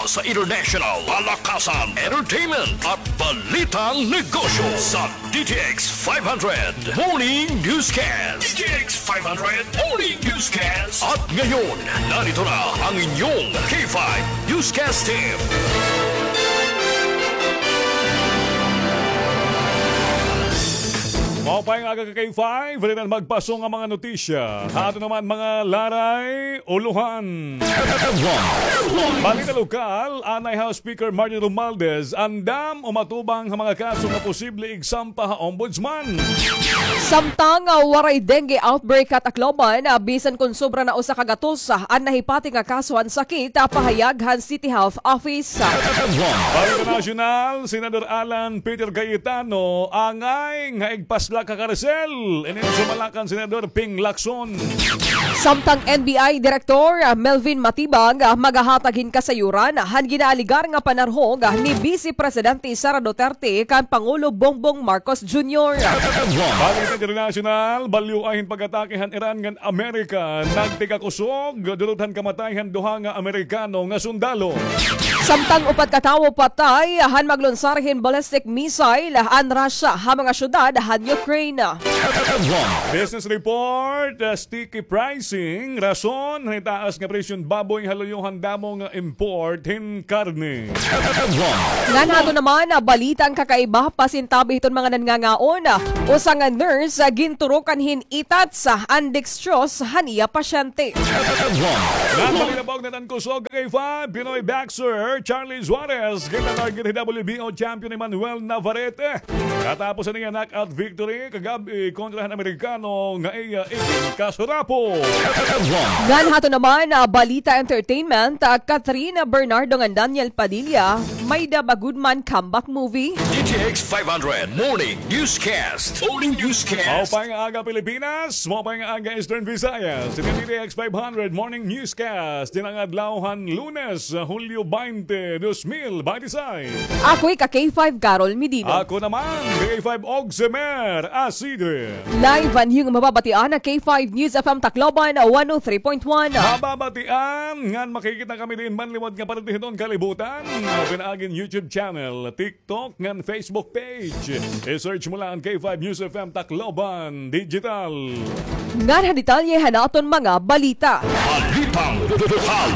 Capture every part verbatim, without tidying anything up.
sa international, palakasan, entertainment, at balitang negosyo sa D T X five hundred Morning Newscast. D T X five hundred Morning Newscast. At ngayon, narito na ang inyong K five Newscast Team. Maupay nga aga ka K five, diri na magpasong ang mga notisya. Ato naman mga laray, ulohan. Balita lokal, anay House Speaker Martin Romualdez, andam umatubang ha mga kaso nga posible igsampa ha Ombudsman. Samtang, ah, waray dengue outbreak ha Tacloban, ah, bisan kon sobra na usa ka gatos, ah, an nahipati nga kaso han sakit, ah, pahayag han City Health Office. Balita nasyonal, Senador Alan Peter Cayetano, angay nga igpaslak ha karsel. Inin sumala kan Senador Ping Lacson. Samtang N B I Director, ah, Melvin Matibag, ah, magahatag hin kasayuran han ginaaligar nga panarhog, ah, ni Vice Presidente Sara Duterte kan Pangulo Bongbong Marcos Junior. Balita internasyonal, balyo ay hin pag-atake han Iran ngan Amerika nagtikakusog, dulot han kamatay han duha nga Amerikano nga sundalo. Samtang upat ka tawo patay han maglunsar hin ballistic missile an Russia ha mga syudad han Ukraine. Business report, uh, sticky pricing, rason han itaas nga presyon baboy ha luyo han damo nga import hin karne. Ngan ato naman, ah, balita an kakaiba, pasintabi hiton mga nanngangaon, ah, usa nga nurse, ah, ginturukan hin itats, ah, an dextrose han iya pasyente. Ngan balita pa og natan kusog kay five, Pinoy boxer Charlie Suarez, ginatarget hi W B O champion Emmanuel Navarrete. Katapos han iya knockout victory kagab-i kontra han Amerikano nga iya iginkasurapo. Ngan hato naman, ah, balita entertainment, ah, Katrina Bernardo ngan Daniel Padilla, may-ada ba gud man comeback movie? D T X five hundred Morning Newscast. Morning Newscast. Maupay nga aga, Pilipinas. Maupay nga aga, Eastern Visayas. Ini D T X five hundred Morning Newscast. Dinhi nga adlaw han Lunes, Hulyo twenty, dos mil binte seis. Ako ika K five Carol Medino. Ako naman, K five Ogsemer Asidre. Live an iyo mababatian ha K five News F M Tacloban, one oh three point one. Mababatian ngan makikita kami diin man liwat nga parte hiton kalibutan. Pinaagi hin YouTube channel, TikTok, ngan Facebook page. I-search mo la an K five News F M Tacloban Digital. Ngan ha detalye han aton mga balita. Balitang lokal.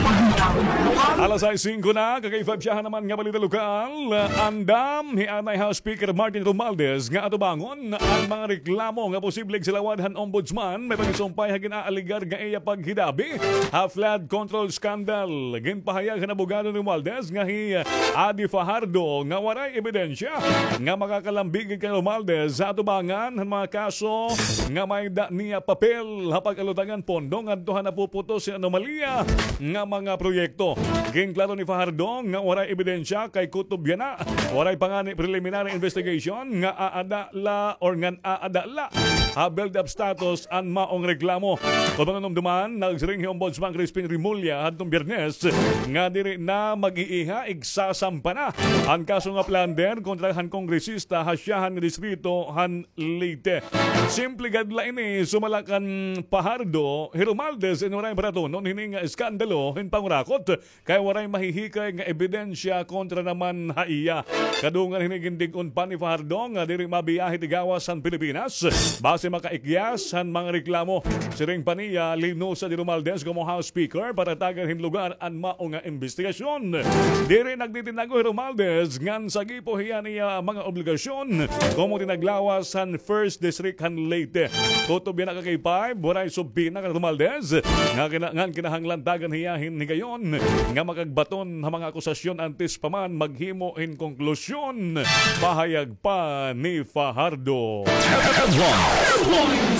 Alas sais singko na, ka K five, syahan naman nga balita lokal. Andam hi anay House Speaker Martin Romualdez nga atubangon an mga reklamo nga posibleng silawad han Ombudsman, may pagsumpay ha gin-aaligar nga iya paghidabi ha flood control scandal. Ginpahayag han abogado ni Romualdez nga hi Adi Fajardo nga waray ebidensya nga makakalambigit kan Romualdez ha atubangan han mga kaso nga may-ada niya papel ha pag-alutang han pondo ngadto ha napuputos hin anomalya nga mga proyekto. Ginklaro ni Fajardo nga waray ebidensya kay kutob yana, waray pa ngani preliminary investigation nga aada la or ngan aada la ha build-up status an maong reklamo. Kon mahinumduman, nagsiring hi Ombudsman Crispin Remulla hadtong Biyernes nga diri na mag-iiha, igsasampa na an kaso nga plunder kontra han kongresista ha syahan nga distrito han Leyte. Simple gad la ini, sumala kan Fajardo, hi Romualdez in waray paratunon hini nga eskandalo hin pangurakot kay waray mahihikay nga ebidensya kontra naman ha iya. Kadungan hini, gindig-on pa ni Fajardo nga diri mabiyahe it igawas han Pilipinas basi makaikyas han mga reklamo. Siring pa niya, linusa ni Romualdez komo House Speaker para tagan hin lugar an mao nga imbestigasyon. Diri nagtitinago hi Romualdez ngan sagipo hiya niya mga obligasyon komo tinaglawas han First District han Leyte. Kutob yana, ka K five, waray subpina kan Romualdez nga kina-, ngan kinahanglan tagan hiya hin higayon nga makagbaton ha mga akusasyon antes pa man maghimo hin konklusyon, pahayag pa ni Fajardo.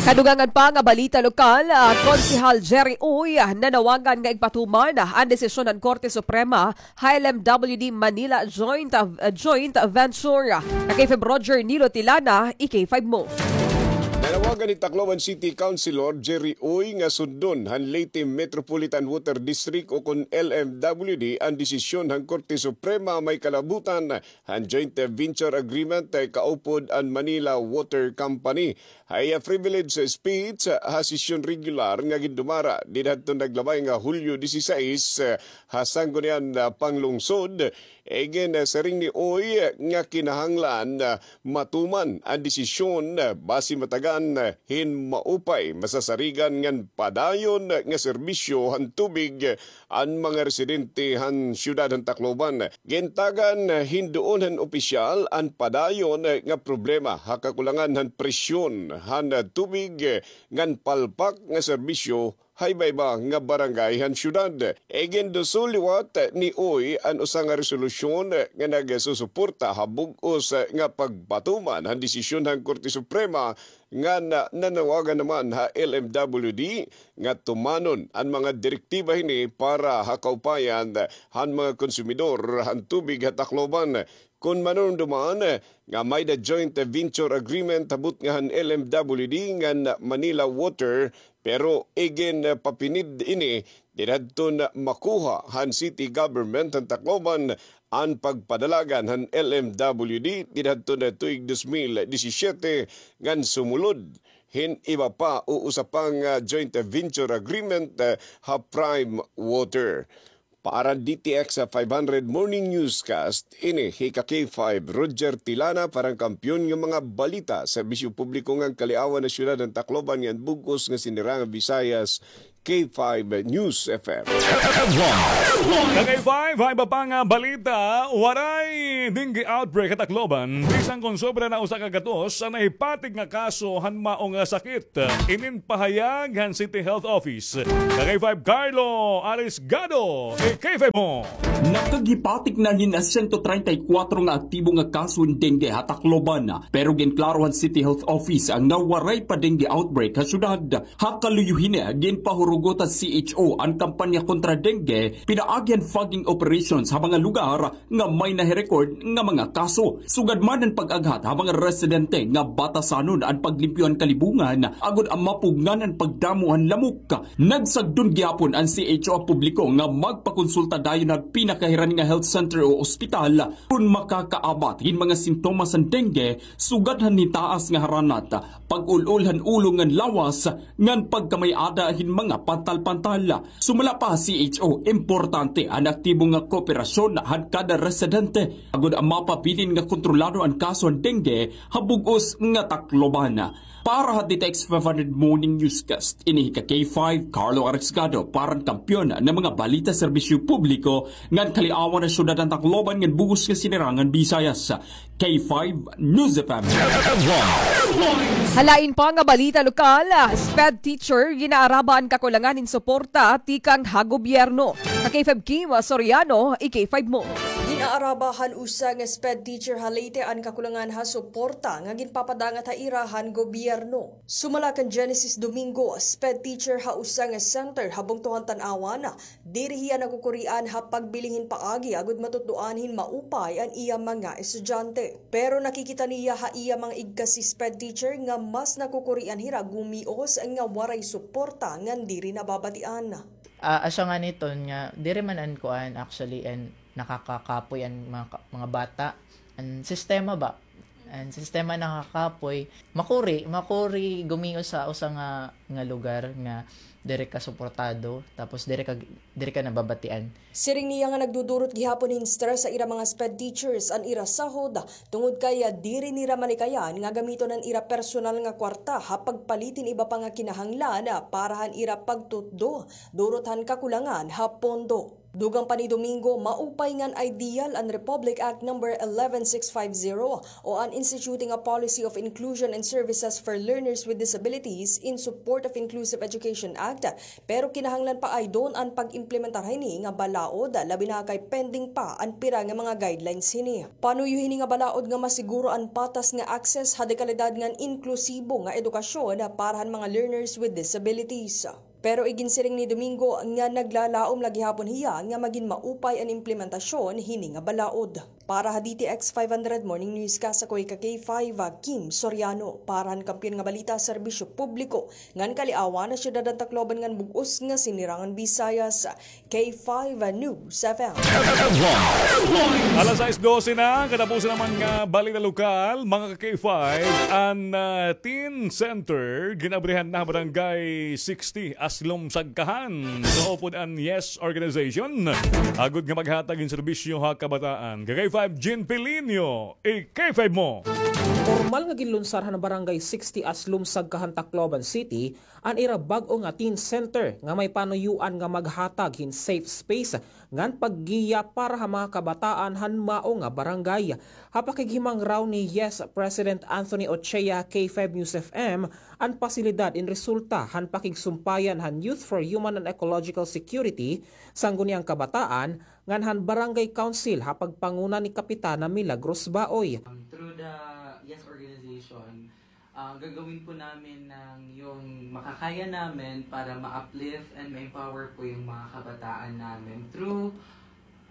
Kadugangan pa nga balita lokal, ah, Konsehal Jerry Uy, ah, nanawagan nga igpatuman, ah, an desisyon han Korte Suprema ha L M W D Manila Joint, ah, Joint Venture. Ka K five Roger Nilo Tilana, i K five mo. Gani Tacloban City Councilor Jerry Uy nga sundon han Leyte Metropolitan Water District o kon L M W D an desisyon han Korte Suprema may kalabutan han joint venture agreement kaupod an Manila Water Company. Ha iya privilege speech ha sesyon regular nga gindumara didto naglabay nga Hulyo disisais ha Sangguniang Panglungsod, iginsiring ni Uy nga kinahanglan matuman an desisyon basi matagan hin maupay masasarigan ngan padayon nga serbisyo han tubig an mga residente han siyudad han Tacloban. Gintagan hin duon han opisyal an padayon nga problema ha kakulangan han presyon han tubig ngan palpak nga serbisyo ha iba-iba nga barangay han siyudad. Iginduso liwat ni Uy an usa nga resolusyon nga nagsusuporta ha bug-os nga pagpatuman han desisyon han Korte Suprema ngan nanawagan naman ha L M W D nga tumanon an mga direktiba hini para ha kaupayan han mga konsumidor han tubig ha Tacloban. Kon manunduman nga may-ada joint venture agreement ha butnga han L M W D ngan Manila Water, pero iginpapinid ini didto makuha han city government han Tacloban an pagpadalagan han L M W D didto tuig dos mil disisiete ngan sumulod hin iba pa o usa pa nga joint venture agreement ha Prime Water. Para D T X five hundred Morning Newscast, ini hi ka K five Roger Tilana para han Kampiyon nga mga balita, serbisyo publiko ngan kaliawan han siyudad han Tacloban ngan bug-os nga sinirangan Visayas, K five News F M. Ka K five, ha iba pa nga balita, waray dengue outbreak ha Tacloban, bisan kon sobra na usa ka gatos an nahipatig nga kaso han mao nga sakit. Inin pahayag han City Health Office. Ka K five Carlo Arisgado, i-K five mo. Nakaghipatig na hin sento treinta y kuwatro nga aktibo nga kaso hin dengue ha Tacloban, pero ginklaro han City Health Office nga waray pa dengue outbreak ha syudad. Ha kaluyo hini, ginpahurugot han C H O an kampanya kontra dengue, pinaagi han fogging operations ha mga lugar nga may nahi-record nga mga kaso. Sugad man an pag-aghat ha mga residente nga batasanon an paglimpyo han kalibungan agod mapugngan an pagdamo han lamok. Nagsagdon gihapon an C H O ha publiko nga magpakonsulta dayon ha pinakahiran nga health center o ospital kon makakaabat hin mga sintomas han dengue, sugad han hitaas nga haranat, pag-ul-ol han ulo ngan lawas, ngan pagkamay-ada hin mga pantal-pantal. Sumala pa ha C H O, importante an aktibo nga kooperasyon han kada residente agod mapabilin nga kontrolado an kaso han dengue ha bug-os nga Tacloban. Para ha D T X five hundred Morning Newscast, ini hi ka K five, Carlo Arisgado, para han Kampiyon nga mga balita, serbisyo publiko, ngan kaliawan han siyudad han Tacloban ngan bug-os nga sinirangan Visayas. K five News F M. Ha lain pa nga balita lokal, SPED teacher gin-aaraba an kakulangan hin suporta tikang ha gobyerno. Ka K five Kim Soriano, i-K five mo. Gin-aaraba han usa nga SPED teacher ha Leyte an kakulangan ha suporta nga ginpapadangat ha ira han gobyerno. Sumala kan Genesis Domingo, SPED teacher ha usa nga center ha bungto han Tanauan, diri hiya nakukurian ha pagbilin hin paagi agod matutdoan hin maupay an iya mga estudyante. Pero nakikita niya ha iya mga igkasi SPED teacher nga mas nakukurian hira gumios nga waray suporta ngan diri nababatian. Ah, asya ngani iton nga diri man an kuan, actually, an nakakakapoy an mga ka-, mga bata. An sistema ba? An sistema nakakapoy. Makuri, makuri gumios sa usa nga, nga lugar nga diri ka suportado, tapos diri ka, diri ka nababatian. Siring niya nga nagdudurot gihapon hin stress sa ira mga SPED teachers an ira sahod, tungod kay diri nira malikayan nga gamiton an ira personal nga kwarta ha pagpalit hin iba pa nga kinahanglan para han ira pagtutdo, durot han kakulangan ha pondo. Dugang pa ni Domingo, maupay ngan ideal an Republic Act number eleven six five zero o an Instituting a Policy of Inclusion and Services for Learners with Disabilities in Support of Inclusive Education Act, pero kinahanglan pa aydon an pag-implementar hini nga balaod, labi na kay pending pa an pira nga mga guidelines hini. Panuyo hini nga balaod nga masiguro an patas nga access ha dekalidad ngan inklusibo nga edukasyon para han mga learners with disabilities. Pero iginsiring ni Domingo nga naglalaom la gihapon hiya nga magin maupay an implementasyon hini nga balaod. Para ha D T X five hundred Morning Newscast, ako hi ka K five, Kim Soriano. Para han Kampiyon nga Balita, Serbisyo Publiko, ngan Kaliawan ha Syudad han Tacloban ngan bug-os nga Sinirangan Visayas, K five News F M. Alas sais dose na, katapusan naman nga balita lokal, mga ka K five, an, ah, Teen Center, gin-abrihan na ha Barangay sixty, Aslom Sagkahan. Kaupod an Yes Organization, agod nga maghatag hin serbisyo ha kabataan. Ka K five Jean Pilinio, i-K five mo. Pormal nga ginlunsar han Barangay sixty Aslom Sagkahan, Tacloban City, an ira bag-o nga teen center nga may panuyoan nga maghatag hin safe space ngan paggiya para ha mga kabataan han mao nga barangay. Ha pakighimangaraw ni Yes President Anthony Ochea, K five News F M, an pasilidad in resulta han pakigsumpayan han Youth for Human and Ecological Security, Sangguniang Kabataan, ngan han Barangay Council ha pagpanguna ni Kapitana Milagros Baoy. Um, through the Yes Organization, ah, gagawin po namin ng yung makakaya namin para ma-uplift and ma-empower po yung mga kabataan namin through,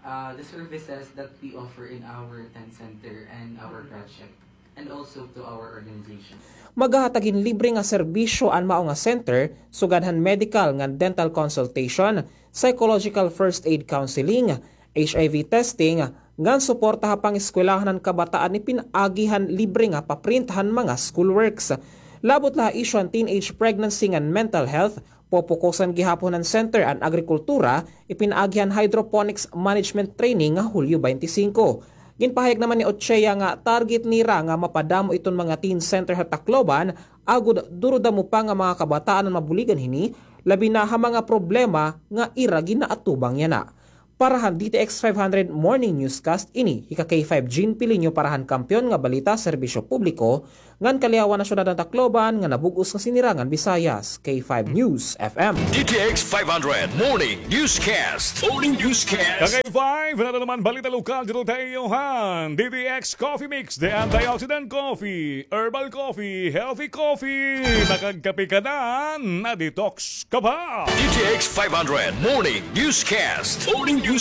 ah, the services that we offer in our tent center and our project, and also to our organization. Maghahatag hin libre nga serbisyo an mao nga center, sugad han medical ngan dental consultation, psychological first aid counseling, H I V testing, ngan suporta ha pangeskwelahan han kabataan ipinaagi han libre nga paprint han mga schoolworks. Labot la ha isyu han teenage pregnancy ngan mental health, popokusan gihapon han center an agrikultura, ipinaagi han hydroponics management training nga Hulyo twenty-five. Ginpahayag naman ni Ochea nga target nira nga mapadamo iton mga teen center ha Tacloban, agod duro damo pa nga mga kabataan an mabuligan hini, labi na ha mga problema nga ira ginaatubang yana. Para han D T X five hundred Morning Newscast, ini hi ka K five Jean Pilinio para han Kampiyon nga Balita, Serbisyo Publiko, ngan Kaliawan ha Syudad han Tacloban, ngan ha bug-os nga Sinirangan Visayas, K five News F M. D T X five hundred Morning Newscast. Morning Newscast. Ka K five, nato naman balita lokal dito tayo han D T X Coffee Mix, the antioxidant coffee, herbal coffee, healthy coffee. Makagkape ka na, na-detox ka pa. D T X five hundred Morning Newscast. Morning Newscast.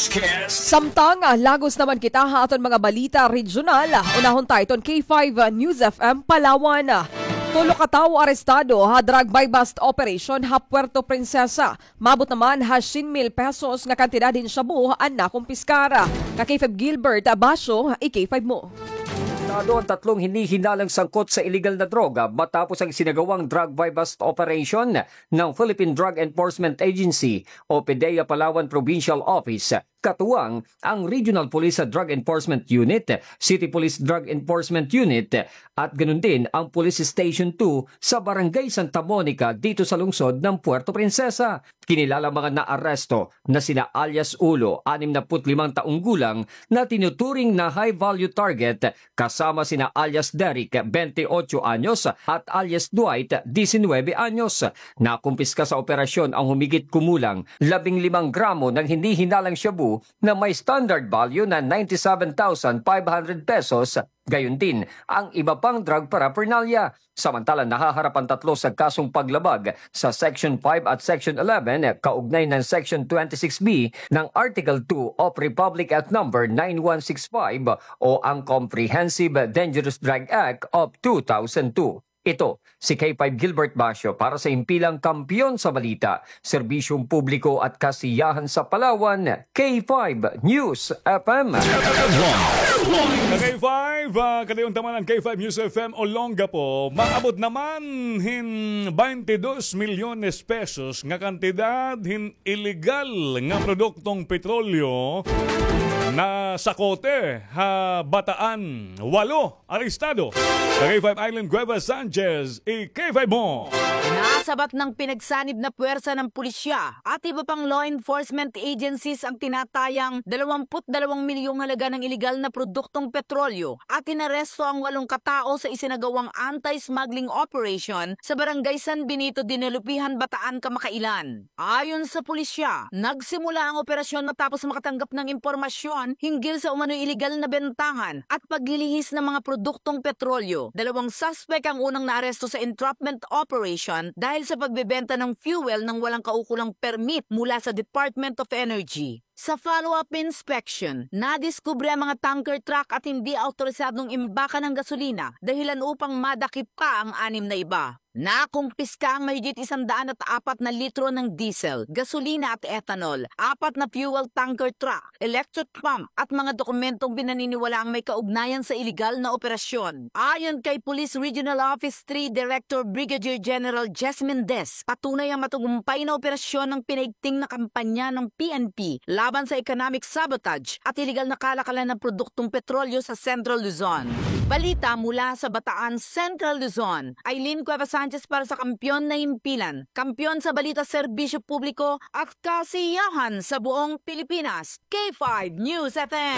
Samtang, ah, lagos naman kita ha aton mga balita regional, unahon ta iton K five News F M Palawan. Tulo ka tawo arestado ha drug buy-bust operation ha Puerto Princesa. Maabot naman ha syen mil pesos nga kantidad hin shabu an nakumpiskar. Ka K five Gilbert Basyo, i-K five mo. Arestado ang tatlong hinihinalang sangkot sa iligal na droga matapos ang isinagawang drug buy-bust operation ng Philippine Drug Enforcement Agency o PDEA Palawan Provincial Office, katuwang ang Regional Police Drug Enforcement Unit, City Police Drug Enforcement Unit, at ganun din ang Police Station two sa Barangay Santa Monica dito sa lungsod ng Puerto Princesa. Kinilala mga naaresto na sina alias Ulo, anim na put limang taong gulang, na tinuturing na high-value target, kasama sina alias Derrick, bente otso anyos, at alias Dwight, disinwebe anyos. Nakumpiska sa operasyon ang humigit kumulang labing limang gramo ng hinihinalang shabu na may standard value na ninety-seven thousand five hundred pesos, gayon din ang iba pang drug paraphernalia. Samantala, nahaharap ang tatlo sa kasong paglabag sa Section five at Section eleven kaugnay ng Section twenty-six B ng Article two of Republic Act Number nine one six five o ang Comprehensive Dangerous Drug Act of two thousand two. Ito si K five Gilbert Basyo para sa Himpilang Kampiyon sa Balita, Serbisyong Publiko at Kasiyahan sa Palawan, K five News F M. Ka K five, ah, kadayon ta man an K five News F M Olongapo. Maabot naman hin baynte dos milyones pesos nga kantidad hin iligal nga produktong petrolyo na sakote ha Bataan. Walo arestado. Ka K five Island Cuevas Sanchez, i-K five mo. Nasabat ng pinagsanib na puwersa ng pulisya at iba pang law enforcement agencies ang tinatayang dalawampu't dalawang milyong halaga ng iligal na produktong petrolyo at inaresto ang walong katao sa isinagawang anti-smuggling operation sa Barangay San Benito, Dinalupihan, Bataan, kamakailan. Ayon sa pulisya, nagsimula ang operasyon matapos makatanggap ng impormasyon hinggil sa umano'y iligal na bentahan at paglilihis ng mga produktong petrolyo. Dalawang suspek ang unang naaresto sa entrapment operation dahil sa pagbebenta ng fuel nang walang kaukulang permit mula sa Department of Energy. Sa follow-up inspection, nadiskubre ang mga tanker truck at hindi awtorisadong imbaka ng gasolina, dahilan upang madakip pa ang anim na iba. Nakumpiska ang mahigit isang daan at apat na litro ng diesel, gasolina at ethanol, apat na fuel tanker truck, electric pump at mga dokumentong pinaniniwalaang may kaugnayan sa iligal na operasyon. Ayon kay Police Regional Office three Director Brigadier General Jess Mendez, patunay ang matagumpay na operasyon ng pinaigting na kampanya ng P N P laban sa economic sabotage at iligal na kalakalan ng produktong petrolyo sa Central Luzon. Balita mula sa Bataan, Central Luzon. Aileen Cuevas Sanchez para sa Kampiyon na Himpilan. Kampiyon sa balita, serbisyo publiko at kasiyahan sa buong Pilipinas. K five News F M.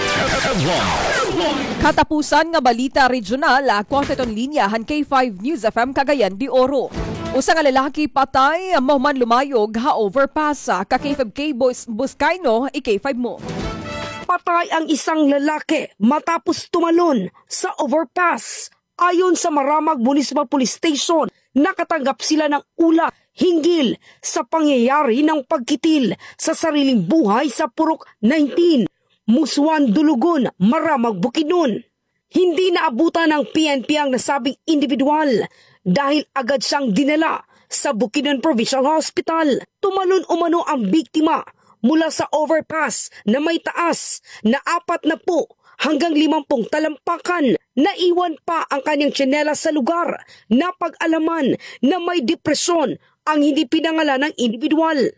Katapusan nga balita regional, ah, kuwang sa iton linya han K five News F M Cagayan de Oro. Usa nga lalaki patay, ah, mahuman lumayog ha overpass, ah, ka K five K Bus-, Buscaino, i-K five mo. Patay ang isang lalaki matapos tumalon sa overpass. Ayon sa Maramag Municipal Police Station, nakatanggap sila ng ulat hinggil sa pangyayari ng pagkitil sa sariling buhay sa Purok nineteen, Musuan, Dulugon, Maramag, Bukidnon. Hindi naabutan ng P N P ang nasabing indibidwal dahil agad siyang dinala sa Bukidnon Provincial Hospital. Tumalon umano ang biktima mula sa overpass na may taas na apat na po hanggang limampung talampakan. Naiwan pa ang kanyang tsinelas sa lugar. Napag-alaman na may depresyon ang hindi pinangalanang indibidwal.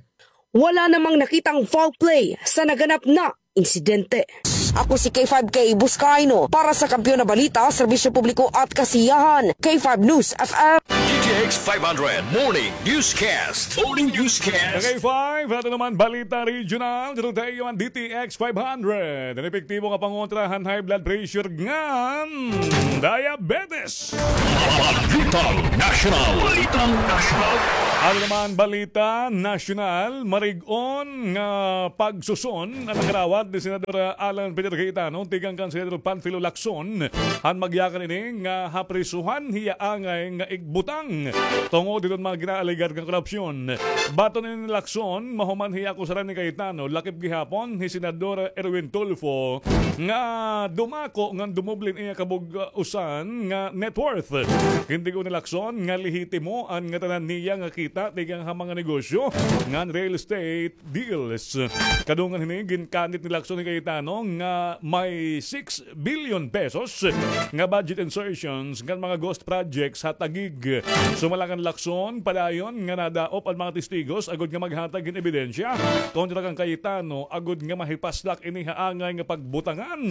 Wala namang nakitang foul play sa naganap na insidente. Ako si K five K Buscaino para sa Kampiyon na Balita, Serbisyo Publiko at Kasiyahan, K five News F M. D T X five hundred Morning Newscast. Morning Newscast. K five, ato naman balita regional. Dito tayo ang D T X five hundred. An epektibo nga pangontra han high blood pressure ngan diabetes. Balitang National. Balitang National. Ano naman balita nasyonal? Marig-on nga pagsuson an nakarawat ni Senador Alan Peter Cayetano tikang kan Senador Panfilo Lacson han magyakan ini nga haprisuhan hiya angay nga igbutang tungod hiton mga ginaalegar nga korupsyon. Baton ini ni Lacson, mahuman hiya akusaran ni Cayetano, lakip gihapon hi Senador Erwin Tulfo nga dumako ngan dumoble an iya kabug-usan nga net worth. Gintigo ni Lacson nga lehitimo an ngatanan niya nga kita tikang ha mga negosyo ngan real estate deals. Kadungan hini, ginkanit ni Lacson hi Cayetano nga may six billion pesos nga budget insertions ngan mga ghost projects ha Taguig. Sumala kan Lacson, padayon nga nadaop an mga testigos agud nga maghatag hin ebidensya kontra kan Cayetano agud nga mahipaslak ini ha angay nga pagbutangan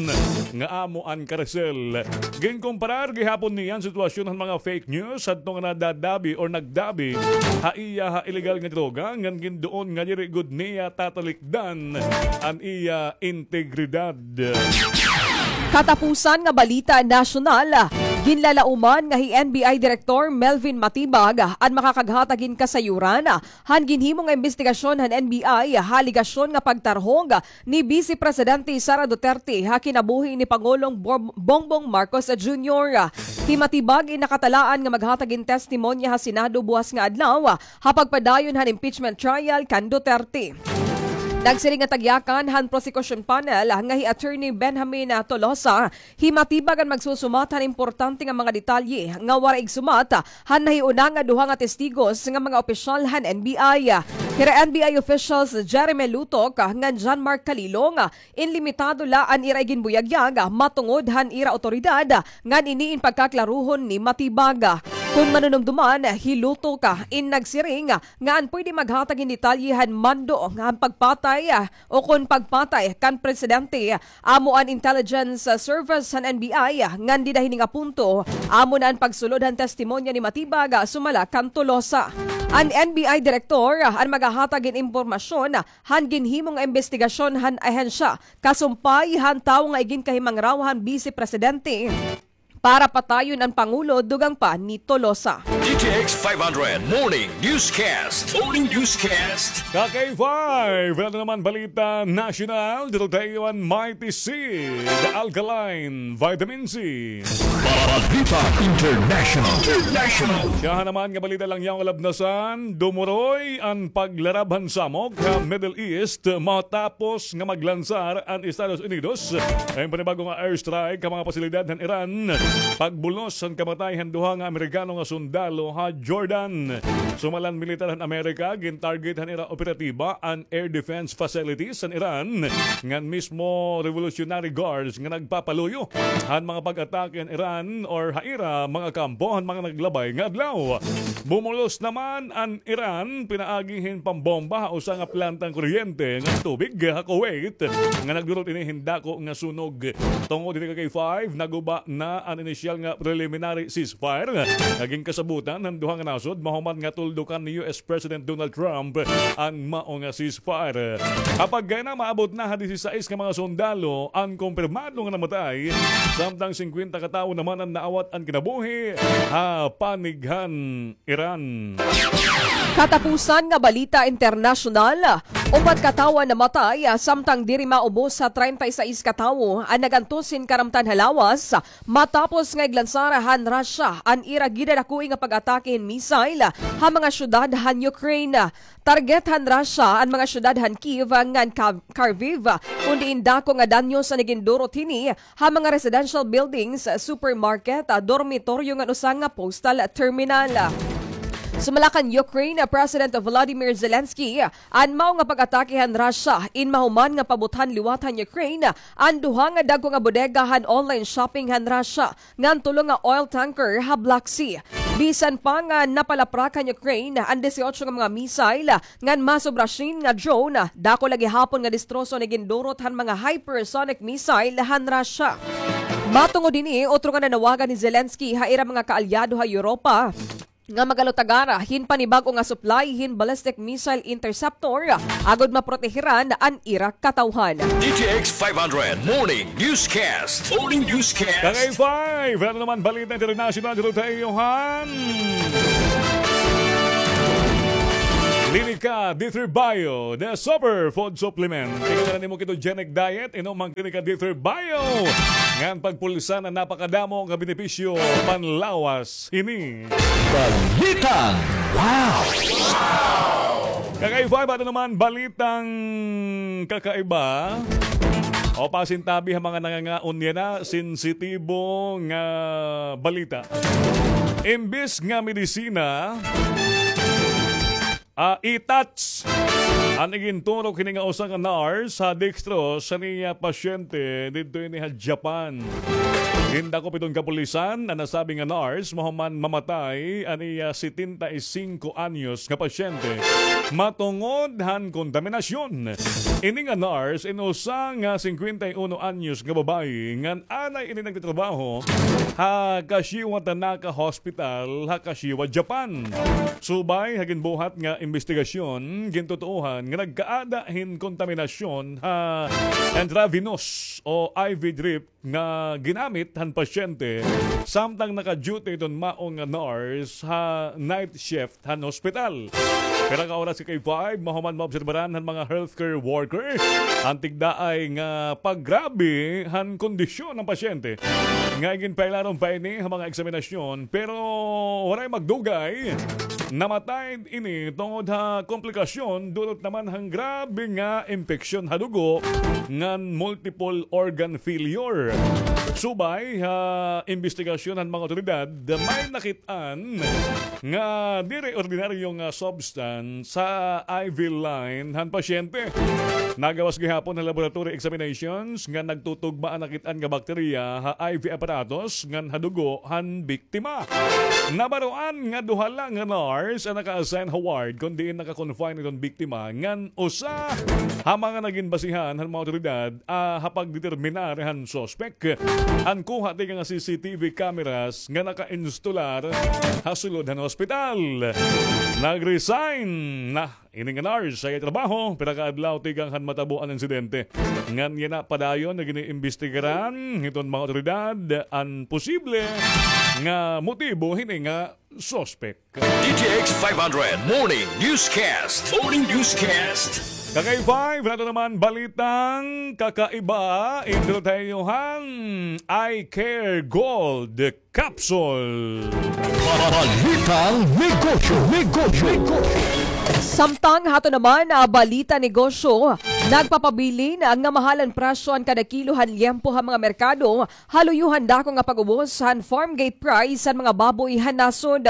nga amo an karisel. Ginkomparar gihapon niya an sitwasyon han mga fake news hadto nga nadadabi or nagdabi ha iya ha illegal nga droga ngan ginduon nga diri gud niya tatalikdan an iya integridad. Katapusan nga balita nasyonal, ginlalauman nga hi N B I Director Melvin Matibag an makakaghatag hin kasayuran han ginhimo nga imbestigasyon han N B I ha alegasyon nga pagtarhog ni Vice Presidente Sara Duterte ha kinabuhi ni Pangulong Bor-, Bongbong Marcos Junior. Hi Matibag in nakatalaan nga maghatag hin testimonya ha Senado buwas nga adlaw ha pagpadayon han impeachment trial kan Duterte. Nagsiring an tagyakan han prosecution panel nga hi Attorney Benjamin Tolosa, hi Matibag an magsusumat han importante nga mga detalye nga waray igsumat han nahiuna nga duha nga testigos nga mga opisyal han N B I. Hira N B I officials Jeremy Lutok ngan John Mark Calilong, in limitado la an ira iginbuyagyag matungod han ira awtoridad ngan ini in pagkaklaruhon ni Matibag. Kon manunumduman, hi Lutok in nagsiring nga an pwede maghatag hin detalye han mando han pagpatay o kon pagpatay kan presidente amo an intelligence service han N B I, ngan dida hini nga punto amo na an pagsulod han testimonya ni Matibag, sumala kan Tolosa. An N B I direktor an magahatag hin impormasyon han ginhimo nga imbestigasyon han ahensya kasumpay han tawo nga iginkahimangraw han Bise Presidente para patayon an Pangulo, dugang pa ni Tolosa. D T X five hundred Morning Newscast. Morning Newscast. Ka K five, ano naman balita nasyonal? Dito tayo an Mighty Seed, Alkaline Vitamin C. Balita International. International. Siya naman nga balita la niyan kalabnasan, dumuroy an paglarab han samok ha Middle East matapos nga maglansar an Estados Unidos hin panibag-o nga airstrike ha mga pasilidad han Iran. Pagbulos han kamatay han duha nga Amerikano nga sundalo ha Jordan. Sumala han militar han Amerika, gin-target han ira operatiba an air defense facilities han Iran ngan mismo Revolutionary Guards nga nagpapaluyo han mga pag-atake han Iran or ha ira mga kampo han mga naglabay nga adlaw. Bumulos naman an Iran pinaagi hin pambomba ha usa nga plantang kuryente ngan tubig ha Kuwait nga nagdurot ini hin dako nga sunog. Tungod hini, ka K five, naguba na an inisyal nga preliminary ceasefire nga ginkasabutan han duha nga nasod mahuman nga tuldukan ni U S President Donald Trump an mao nga ceasefire. Ha pagkayana, maabot na ha disisais nga mga sundalo an kumpirmado nga namatay, samtang singkwenta ka tawo naman an naawat an kinabuhi ha panig han Iran. Katapusan nga balita internasyonal, upat ka tawo an namatay, samtang diri maubos ha treinta y seis ka tawo an nag-antos hin karamtan ha lawas, matapos nga iglansar han Russia an ira gidadakoi nga pag-atake hin missile ha mga syudad han Ukraine. Target han Russia an mga syudad han Kyiv ngan Ka-, Kharkiv, kon diin dako nga danyos an igindurot hini ha mga residential buildings, supermarket, dormitoryo ngan usa nga postal terminal. Sumala kan Ukraine President Volodymyr Zelensky, an mao nga pag-atake han Russia in mahuman nga pabuthan liwat han Ukraine an duha nga dagko nga bodega han online shopping han Russia ngan tulo nga oil tanker ha Black Sea. Bisan pa nga napalaprak han Ukraine an disiotso nga mga missile ngan masobra syen nga drone, dako la gihapon nga destroso an igindurot han mga hypersonic missile han Russia. Matungod hini, otro nga nanawagan hi Zelensky ha ira mga kaalyado ha Europa nga magalutagara hin panibag-o nga supply hin ballistic missile interceptor agod maprotehiran an ira katawhan. D T X five hundred Morning Newscast. Morning Newscast. Ka K five, ano naman balita international dito tayo, han? Klinika D three Bio, the super food supplement. Ikaw na nimo ketogenic diet, inom an Klinika D three Bio. Ngan pagpulsan an napakadamo nga benepisyo panlawas hini. Balitang Wow! Ka K five, ano naman balitang kakaiba? O pasintabi ha mga nangangaon yana, sensitibo nga balita. Imbis nga medisina, ah, itats an iginturok hini nga usa nga nurse ha dextrose sa niya pasyente didto ini ha Japan. Gindakop hiton kapulisan an nasabi nga nurse mahuman mamatay an iya setenta y cinco anyos nga pasyente matungod han kontaminasyon. Ini nga nurse in usa nga singkwenta y uno anyos nga babayi ngan anay ini nagtatrabaho ha Kashiwa Tanaka Hospital ha Kashiwa, Japan. Subay ha ginbuhat nga imbestigasyon, gintutuohan nga nagkaada hin kontaminasyon ha intravenous o I V drip nga ginamit han pasyente samtang naka-duty iton mao nga nurse ha night shift han ospital. Pira ka oras, ka K five, mahuman maobserbaran han mga healthcare worker an tigdaay nga paggrabe han kondisyon han pasyente. Nga iginpailarom pa ini ha mga eksaminasyon, pero waray magdugay, namatay ini tungod ha komplikasyon dulot naman han grabe nga impeksyon ha dugo ngan multiple organ failure. Subay ha imbestigasyon han mga otoridad, may nakit-an nga diri ordinaryo nga substance sa I V line han pasyente. Nagawas gihapon ha laboratory examinations nga nagtutugma an nakit-an nga bakterya ha I V apparatus ngan ha dugo han biktima. Nabaroan nga duha la nga nurse an naka-assign ha ward kon diin naka-confine iton biktima ngan usa ha mga nagin basihan han mga otoridad, ah, ha pagdeterminar han suspect. an kuha tikang nga C C T V cameras nga naka-instalar ha sulod han hospital. Nag-resign na ini nga nurse ha iya trabaho pira ka adlaw tikang han matabo an insidente. Ngan yana padayon nga gin-iimbestigaran hiton mga awtoridad an posible nga motibo hini nga suspek. D T X five hundred Morning Newscast. Morning Newscast. Ka K five, nato naman balitang kakaiba, introduce han Eye Care Gold Capsule. Balitang negosyo, negosyo, negosyo. Samtang hato naman, ah, balita negosyo, nagpapabilin nga mahal an presyo han kada kilo han liyempo ha mga merkado, ha luyo han dako nga pag-ubos han farm gate price han mga baboy han nasod.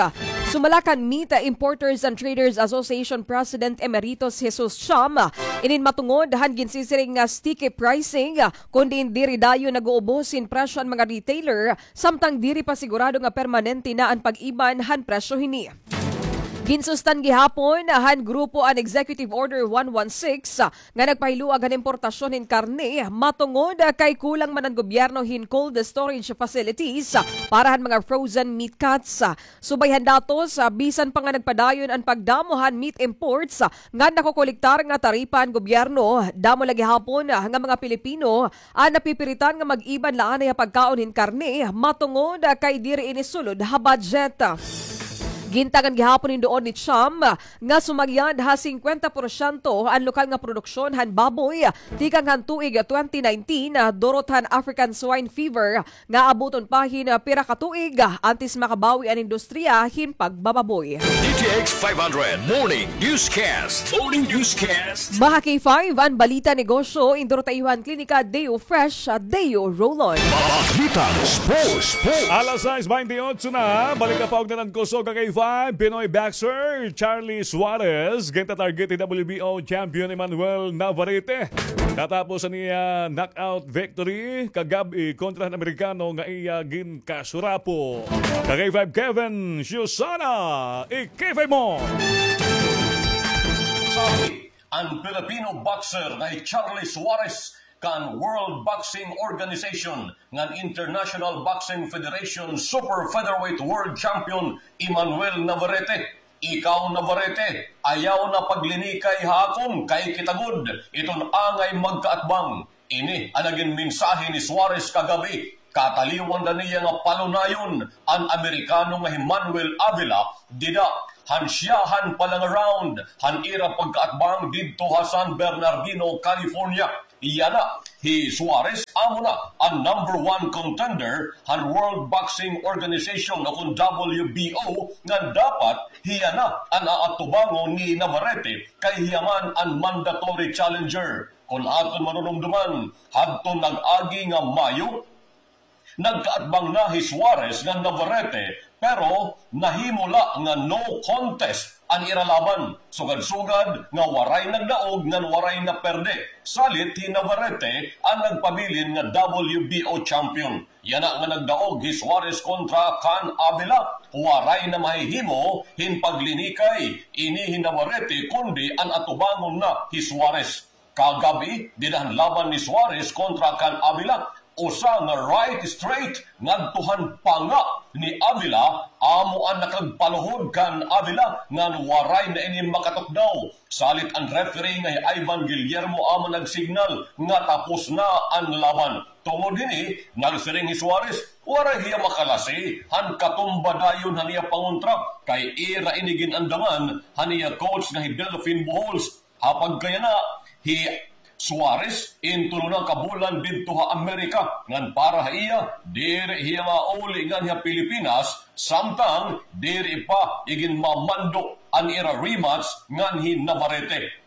Sumala kan Meat Importers and Traders Association President Emeritus Jesus Cham, inin matungod han ginsisiring nga sticky pricing, kundi diri dayon nag-uubos hin presyo han mga retailer, samtang diri pa sigurado nga permanente na an pag-iban han presyo hini. Ginsustan gihapon han grupo an Executive Order one one six nga nagpahiluag han importasyon hin karne matungod kay kulang man an gobyerno hin cold storage facilities para han mga frozen meat cuts. Subay han datos, bisan pa nga nagpadayon an pagdamo han meat imports nga nakokolektar nga taripa han gobyerno, damo la gihapon nga mga Pilipino an napipiritan nga mag-iban la anay ha pagkaon hin karne matungod kay diri ini sulod ha budget. Gintagan gihapon hin duon ni Cham nga sumagyad ha singkwenta porsyento an lokal nga produksyon han baboy tikang han tuig twenty nineteen, durot han African Swine Fever nga abuton pa hin pira ka tuig antes makabawi an industriya hin pagbababoy. D T X five hundred Morning Newscast. Morning Newscast. Mga K five, an balita negosyo, indurot ha iyo han Klinika Deo Fresh, Deo Roll-On. Balitang sports, sports. Alas sais baynte otso na, balik na pa og nanan kusog ka K five, Pinoy boxer Charlie Suarez, ginta-target ni W B O champion Emmanuel Navarrete. Katapos an iya knockout victory kagab-i kontra han Amerikano nga iya ginkasurapo. Ka K five Kevin Susana, i-K five mo. Sabi an Filipino boxer nga hi Charlie Suarez kan World Boxing Organization ngan International Boxing Federation Super Featherweight World Champion Emmanuel Navarrete. Ikaw, Navarrete, ayaw na paglinikay ha akon kay kita gud iton angay magkaatbang. Ini an nagin mensahe ni Suarez kagab-i, kataliwan na niya nga palunayon an Amerikano nga hi Manuel Avila dida han syahan pa la nga round han ira pagkaatbang didto ha San Bernardino, California. Yana, hi Suarez amo na an number one contender han World Boxing Organization o kon W B O, ngan dapat hiya na an aatubangon ni Navarrete kay hiya man an mandatory challenger. Kon aton marurumduman, hadton nag-agi nga Mayo, nagkaatbang na hi Suarez ngan Navarrete, pero nahimo la nga no contest an ira laban. Sugad-sugad nga waray nagdaog ngan waray naperde. Salit hi Navarrete an nagpabilin nga W B O champion. Yana nga nagdaog hi Suarez kontra kan Avila, waray na mahihimo hin paglinikay ini hi Navarrete kundi an atubangon na hi Suarez. Kagab-i, dida han laban ni Suarez kontra kan Avila, usa nga right straight ngadto han panga ni Avila, amo an nakagpaluhod kan Avila ngan waray na ini makatukdaw. Salit an referee nga hi Ivan Guillermo amo nagsignal nga tapos na an laban. Tungod hini, nagsiring hi Suarez, waray hiya makalasi han katumba dayon han iya pangontra, kay ira ini gin-andangan han iya coach nga hi Delfin Pujols. Ha pagkayana, hi Suarez, in tulo na ka bulan didto ha Amerika, ngan para ha iya, diri hiya mauli nganhi ha Pilipinas, samtang diri pa iginmamando an ira rematch nganhi Navarrete.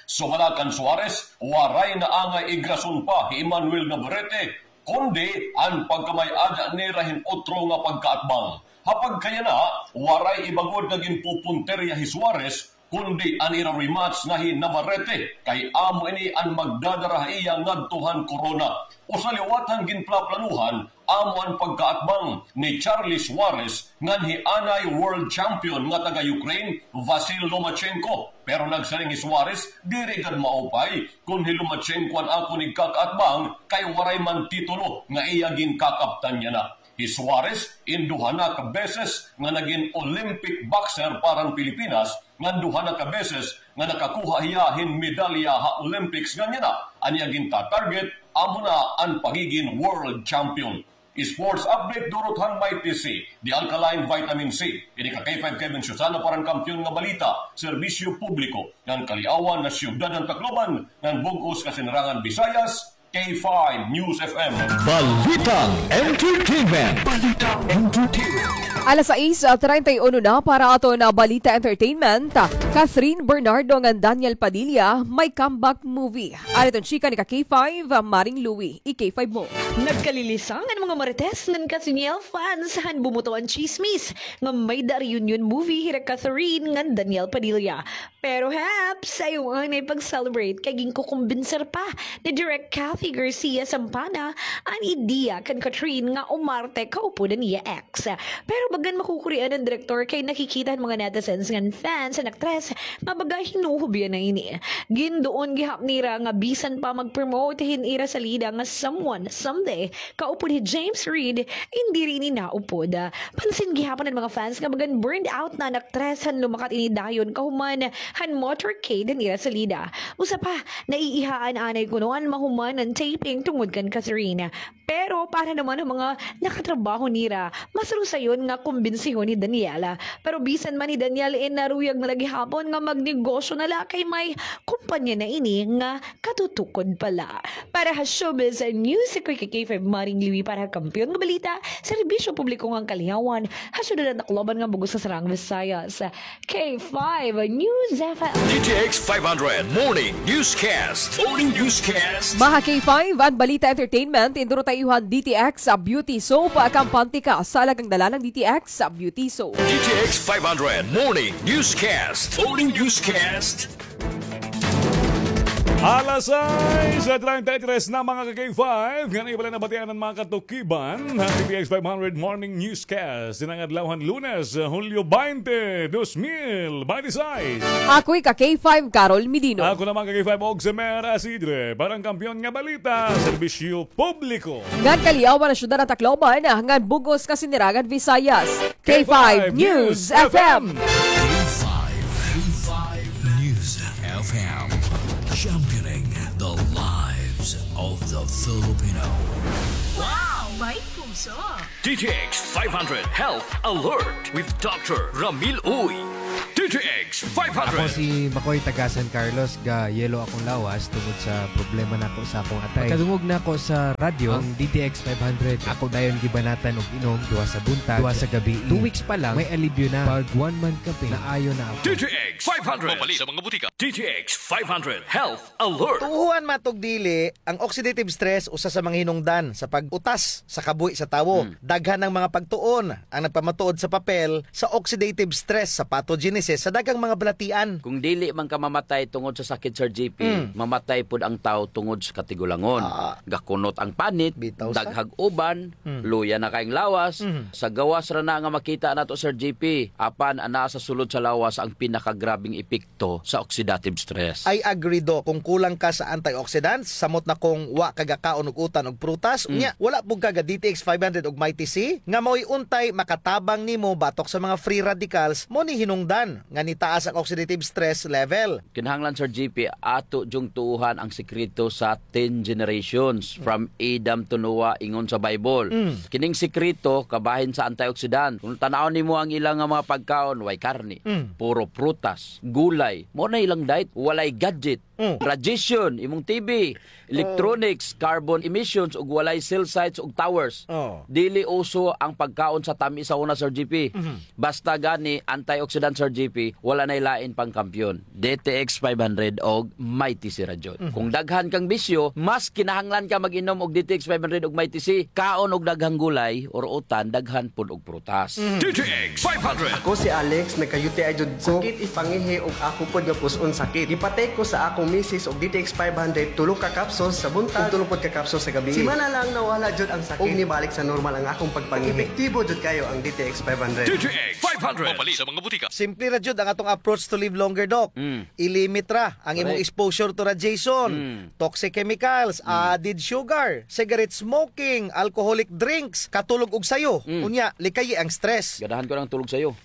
Sumala kan Suarez, waray na angay igrason pa hi Emmanuel Navarrete, kundi an pagkamay-ada nira hin utro nga pagkaatbang. Ha pagkayana, waray iba gud nga ginpupuntirya hi Suarez, kundi an ira rematch nga hi Navarrete, kay amo ini an magdadara ha iya ngadto han korona. Usa liwat han ginplaplanuhan, amo an pagkaatbang ni Charlie Suarez nganhi anay world champion nga taga-Ukraine, Vasyl Lomachenko. Pero nagsiring hi Suarez, diri gad maupay kon hi Lomachenko an akon igkakaatbang kay waray man titulo nga iya ginkakaptan yana. Hi Suarez, in duha na ka beses nga nagin Olympic boxer para han Pilipinas, ngan duha na ka beses nga nakakuha hiya hin medalya ha Olympics ngan yana. An iya ginta-target, amo na an pagigin world champion. Sports update durot han Mighty C, The Alkaline Vitamin C. Ini ka K five Kevin Susana para han Kampiyon nga Balita, Serbisyo Publiko, ngan Kaliawan nga Siyudad han Tacloban, ngan bug-os nga Sinirangan Visayas, K five News F M. Balitang Entertainment. Balitang Entertainment. Alas sais, ah, treinta y uno na para aton, ah, Balita Entertainment. Catherine Bernardo ngan Daniel Padilla may comeback movie. Ari iton chika ni ka K five, ah, Maring Louie, i-K five mo. Nagkalilisang an mga Marites ngan Katniel fans han bumuto an tsismis nga may-ada reunion movie hira Catherine ngan Daniel Padilla. Pero heps, ayaw anay pag-celebrate kay ginkukumbinser pa ni Direk Cathy Garcia Sampana an ideya kan Catherine nga umarte kaupod an iya ex. Pero bagan makukurian an direktor kay nakikita han mga netizens ngan fans an aktres nga baga hinuhubya na ini. Ginduon gihap nira nga bisan pa mag-promote hin ira salida nga Someone Someday kaupod hi James Reid, in diri ini naupod. Pansin gihapon han mga fans nga bagan burned out na an aktres han lumakat ini dayon kahuman han motorcade han ira salida. Usa pa, naiihaan anay kuno an mahuman an taping tungod kan Catherine. Pero para naman han mga nakatrabaho nira, mas rusayon nga kumbinsihon hi Daniela. Pero bisan man hi Daniel, in naruyag na la gihapon nga magnegosyo na la kay may kumpanya na ini nga katutukod pa la. Para ha Showbiz News, ako hi K five Maring Liwi para ha Kampiyon nga Balita, Serbisyo Publiko ngan Kaliawan, ha Siyudad han Tacloban ngan bug-os nga Sinirangan Visayas. K five News F M. D T X five hundred Morning Newscast. Morning Newscast. Mga K five, an Balita Entertainment, induro ta iyo han D T X Beauty Soap, kampante ka sa alagang dalalang D T X Beauty Soap. D T X five hundred Morning Newscast. Morning Newscast. Alas sais treinta y tres na, mga ka-K five. Ngan iya pa la nabatian an mga katukiban han D T X five hundred Morning Newscast. Dinhi nga adlaw han Lunes, Hulyo baynte, dos mil baynte sais. Ako hi ka-K five, Carol Medino. Ako naman ka-K five, Oximer Asidre. Para han Kampiyon nga Balita, Serbisyo Publiko ngan Kaliawan han Siyudad han Tacloban, ngan bug-os nga Sinirangan Visayas. K five News F M. K five, K five News F M, championing the lives of the Filipino. Wow, may puso! D T X five hundred Health Alert with Doctor Ramil Uy. D T X five hundred. Ako si Makoy, taga San Carlos, ga-yellow akong lawas tungod sa problema nako sa akong atay. Pagkadungog nako sa radyo, ang D T X five hundred, ako dayon gibanatan og inom duha sa buntag, duha sa gabii. Two weeks pa lang, may alibyo na. Pag one month ka, Ping, naayo na ako. D T X five hundred. Mapalit sa mga butika. D T X five hundred Health Alert. Tuohan man tog dili, ang oxidative stress usa sa mga hinungdan sa pag-utas sa kabuhi sa tawo. Hmm. Daghan ang mga pagtuon ang nagpamatuod sa papel sa oxidative stress sa pathogenesis sa daghang mga balatian. Kung dili man ka mamatay tungod sa sakit, Sir G P, mm, mamatay pod ang tawo tungod sa katigulangon. Ah. Gakunot ang panit, bitaw sa daghag uban, mm, luya na kaayong lawas, mm, sa gawas ra na nga makita nato, Sir G P, apan anaa sa sulod sa lawas ang pinakagrabeng epekto to sa oxidative stress. I agree, Doc. Kung kulang ka sa antioxidants, samot na kung wa ka gakaon og utan og prutas, mm, unya, wala pud ka ga D T X five hundred og Mighty C, nga mao'y untay makatabang nimo batok sa mga free radicals, mao ni hinungdan nga nitaas ang oxidative stress level. Kinahanglan, Sir G P, ato jung tuohan ang sikreto sa ten generations, mm, from Adam to Noah, ingon sa Bible. Mm. Kining sikreto, kabahin sa antioxidant. Kung tan-awon nimo ang ilang nga mga pagkaon, way karne, mm, puro prutas, gulay. Mao na ilang diet, walay gadget. Mm. Radiation, imong T V, electronics, carbon emissions, ug walay cell sites ug towers. Oh. Dili uso ang pagkaon sa tam-is sa una, Sir G P. Mhm. Basta gani, antioxidant, Sir G P, wala nay lain pang kampiyon. D T X five hundred og Mighty C ra jud. Mhm. Kung daghan kang bisyo, mas kinahanglan ka mag-inom og D T X five hundred og Mighty C. Kaon og daghang gulay or utan, daghan pud og prutas. Mhm. D T X five hundred. Ako si Alex, nagka-U T I jud ko. Sakit ipangihi ug ako pod nga pus-on sakit. Gipatay ko sa akong Misis og D T X five hundred, tulo ka capsules sa buntag, ug tulo pod ka capsules sa gabii. Simana lang nawala jud ang sakit. Ug nibalik sa normal ang akong pagpangihi. Epektibo jud kayo ang D T X five hundred. D T X five hundred. Mapalit sa mga butika. Simple ra jud ang atong approach to live longer, Doc. Mm. I-limit ra ang imong Correct. exposure to radiation, Mm. toxic chemicals, Mm. added sugar, cigarette smoking, alcoholic drinks, katulog og sayo. Mm. Unya, likayi ang stress. Ganahan ko ng tulog sayo.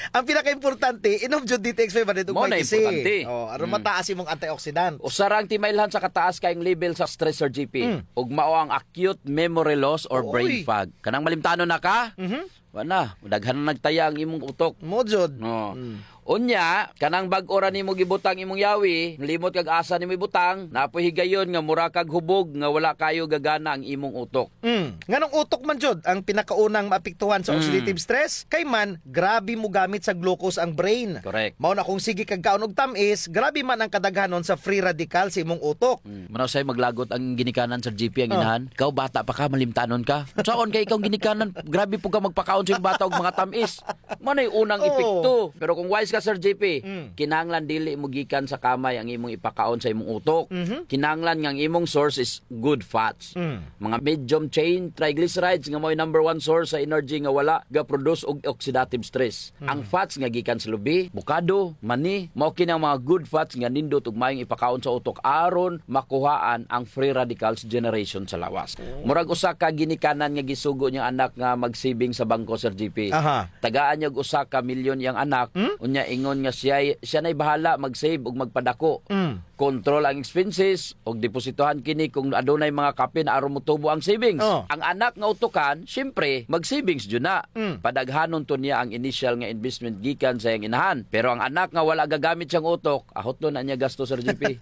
Ang pinakaimportante, inom jud D T X five hundred ug Mao na Mighty C. importante. Oh, aron Mm. mataas imong antioxidant. Usa ra ang timailhan sa kataas kayong level sa stress, Sir G P. Mm. Ug mao ang acute memory loss or brain Oy. fog. Kanang malimtanon na ka? Mhm. Wa na, daghan na nagtaya ang imong utok. Mao jud. No. Mm. Unya, kanang bag-o ra nimo gibutang imong yawi, limot kag asa nimo ibutang, naa poy higayon nga mura kag hubog nga wala kayo gagana ang imong utok. Mm. Nganong utok man jud ang pinakaunang maapektuhan sa Mm. oxidative stress? Kay man, grabe mogamit sa glucose ang brain. Correct. Mao na kung sige kag kaon og tam-is, grabe man ang kadaghanon sa free radical sa imong utok. Mm. Mao na usay maglagot ang ginikanan, Sir G P, ang Oh. inahan. Ikaw, bata pa ka, malimtanon ka. Saon kay ikaw ginikanan, grabe po ka magpakaon sa imong bata og mga tam-is. Mao na'y unang Oh. epekto. Pero kung wise ka, Sir G P, Mm. kinahanglan dili mo gikan sa kamay ang imong ipakaon sa imong utok. Mhm. Kinahanglan nga ang imong source is good fats. Mm. Mga medium chain triglycerides nga mao'y number one source sa energy nga wala ga-produce og oxidative stress. Mm. Ang fats nga gikan sa lubi, bukado, mani, mao kini ang mga good fats nga nindot ug mayong ipakaon sa utok aron makuhaan ang free radicals generation sa lawas. Oh. Murag usa ka ginikanan nga gisugo niyang anak nga mag-saving sa bangko, Sir G P. Aha. Tagaan niya og usa ka milyon iyang anak, Hmm? unya ingon nga siya, siya na'y bahala mag-save ug magpadako. Mm. Control ang expenses, ug depositohan kini kung adunay mga kapin aron motubo ang savings. Oh. Ang anak nga utukan, siyempre, mag-savings jud na. Mm. Padaghanon to niya ang initial nga investment gikan sa iyang inahan. Pero ang anak nga wala gagamit siyang utok, ahot na niya gasto, Sir G P.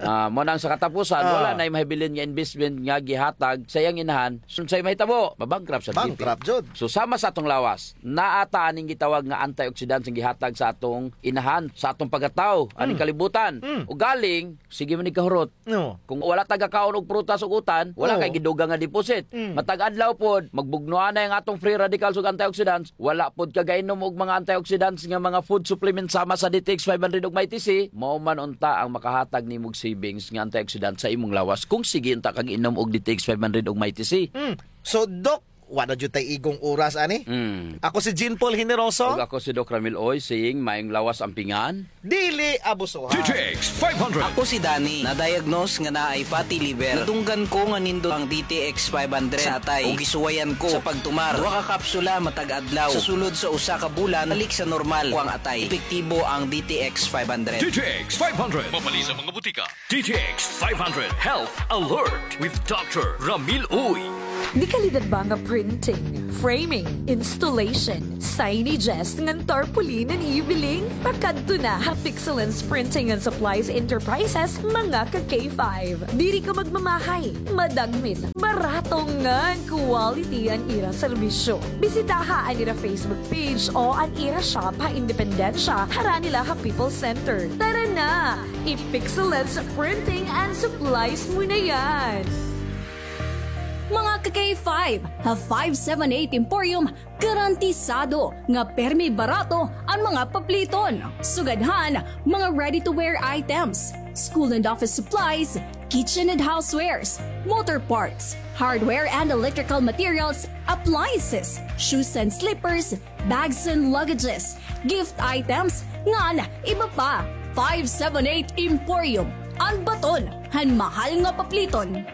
Ah, mao nang sa katapusan, Oh. wala na'y mahibilin nga investment nga gihatag sa iyang inahan. Unsay mahitabo? Mabankrupt, Sir G P. Bankrupt jud. So, sama sa atong lawas, naa ta aning gitawag nga antioxidants nga gihatag sa atong inahan, sa atong pagkatawo, aning Mm. kalibutan. Mm. Ugaling, sige man ni kahurot. No. Kung wala ta gakaon og prutas ug utan, wala Oo. kay gidugang nga deposit. Mm. Matag adlaw pod, magbugnoan na ang atong free radicals ug antioxidants, wala pod ka gainom og mga antioxidants nga mga food supplements sama sa D T X five hundred ug Mighty C, mao man unta ang makahatag nimog savings nga antioxidant sa imong lawas kung sige unta kag inom og D T X five hundred ug Mighty C. Mm. So, Doc, wa na jud tay igong oras ani. Mm. Ako si Jean Paul Generoso. Ug ako si Doc Ramil Oy, saying, mayong lawas ampingan. Dili abusuhan. D T X five hundred. Ako si Danny. Na-diagnose nga naay fatty liver. Nadunggan ko nga nindot ang D T X five hundred sa atay. Ug gisuwayan ko sa pagtumar. Duha ka kapsula matag adlaw. Sa sulod sa usa ka bulan, balik sa normal ko ang atay. Epektibo ang D T X five hundred. D T X five hundred. Mapalit sa mga butika. D T X five hundred Health Alert with Doctor Ramil Uy. De-kalidad ba nga printing, framing, installation, signages ngan tarpaulin an iyo biling? Pakadto na ha Pixelance Printing and Supplies Enterprises, mga ka K five. Diri ka magmamahay, madagmit, barato ngan quality an ira serbisyo. Bisitaha an ira Facebook page o an ira shop ha Independencia, harani la ha People's Center. Tara na! I-Pixelance Printing and Supplies mo na yan! Mga ka K five, ha five seven eight Emporium, garantisado nga permi barato an mga papliton. Sugad han mga ready-to-wear items, school and office supplies, kitchen and housewares, motor parts, hardware and electrical materials, appliances, shoes and slippers, bags and luggages, gift items, ngan iba pa. Five seven eight Emporium, an baton han mahal nga papliton.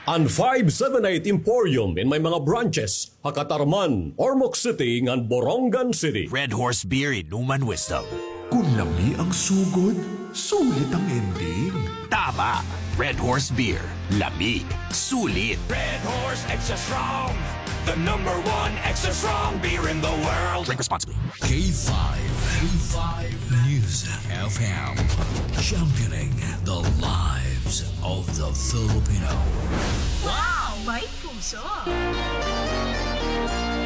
An five seven eight Emporium in may mga branches ha Catarman, Ormoc City, ngan Borongan City. Red Horse Beer, inuman wisdom. Kung lami ang sugod, sulit ang ending. Tama! Red Horse Beer. Lami. Sulit. Red Horse Extra Strong. The number one extra strong beer in the world. Drink responsibly. K five. K five News F M. Championing the lives of the Filipino. Wow! May puso!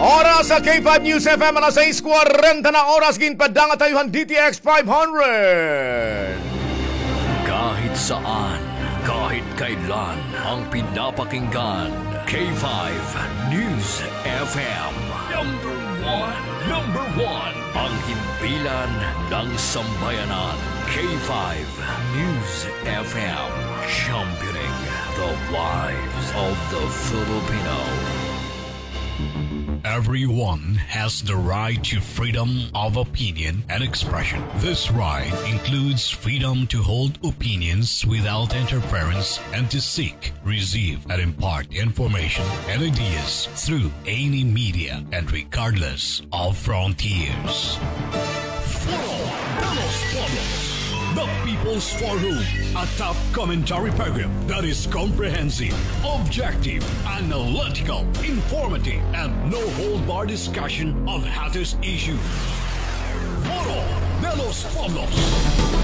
Oras sa K five News F M, alas sais kwarenta na oras, ginpadangat ha iyo han D T X five hundred. Kahit saan, kahit kailan, ang pinapakinggan, K five News F M. Number one, number one, ang himpilan ng sambayanan. K five News F M, championing the lives of the Filipino. Everyone has the right to freedom of opinion and expression. This right includes freedom to hold opinions without interference and to seek, receive, and impart information and ideas through any media and regardless of frontiers. Foro de los Pueblos, the People's Forum, a top commentary program that is comprehensive, objective, analytical, informative, and no hold bar discussion of hottest issues. Foro de los Pueblos.